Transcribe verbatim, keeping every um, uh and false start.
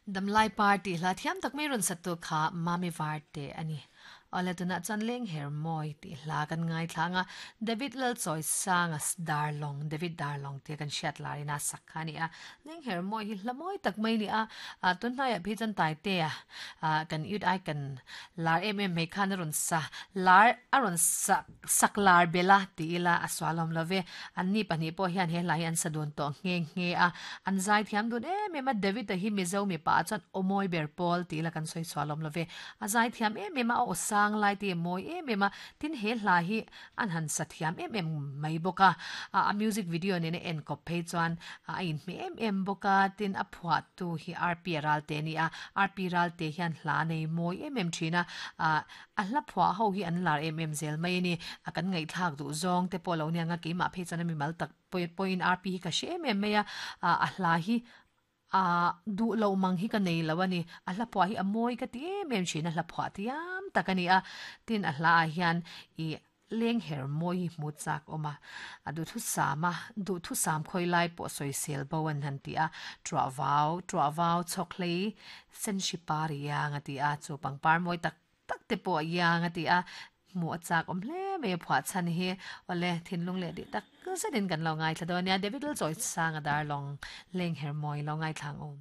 Damlai Party hla thiam tak mai rawn sat tur kha Mami Varte a ni. Awle tunah chuan Leng Her Mawi tih hla kan ngaithla ang a, David Lalchawisanga Darlawng, David Darlawng tia kan hriat larina sak kha a ni a. Leng Her Mawi hi hla mawi tak mai a ni a, tun hnaiah phei chuan Taitea kan youth icon lar em em mai khan a rawn sa lar a rawn sa sak lar bel a ti ila a sualawm lo ve. Anni pahnih pawh hian he hla hi an sa dun tawh nghe nghe a, an zai thiam dun em em a, David-a hi Mizo mipa ah chuan aw mawi ber pawl ti ila kan sawi sualawm lo ve. A zai thiam em em a, a aw sang lai te mawi em em a, tin he hla hi an han sa thiam em em mai bawk a, a music video nena en kawp phei chuan a inhmeh em em bawk a, tin a phuahtu hi R P Ralte a ni a, R P Ralte hian hla nei mawi em em thin a, a hla phuah ho hi an lar em em zel mai a ni, a kan ngaihthlak duh zawng te pawh lo nia nga keimah phei chuan a mimal tak pawhin R P hi ka hre em em mai a, a hla hi a duh lo mang hi ka nei lo a ni, a hla phuah hi a mawi ka ti em em thin a, hla phuah tiam tak a ni a, tin a hla ah hian i leng her mawi hi hmu chak awm a, a duhthu sam a, duhthu sam khawi lai pawh sawisel bo an han ti a, tuah vau, tuah vau chhawk hlei sen hri par iang a ti a, chu pangpar mawi tak tak te pawh iang a ti a, hmu a chak awm hle mai a phuah chhan hi, awle thinlung leh dih tak zetin kan lo ngaithla dawn nia, David Lalchawisanga Darlawng leng her mawi lo ngaithla ang awm.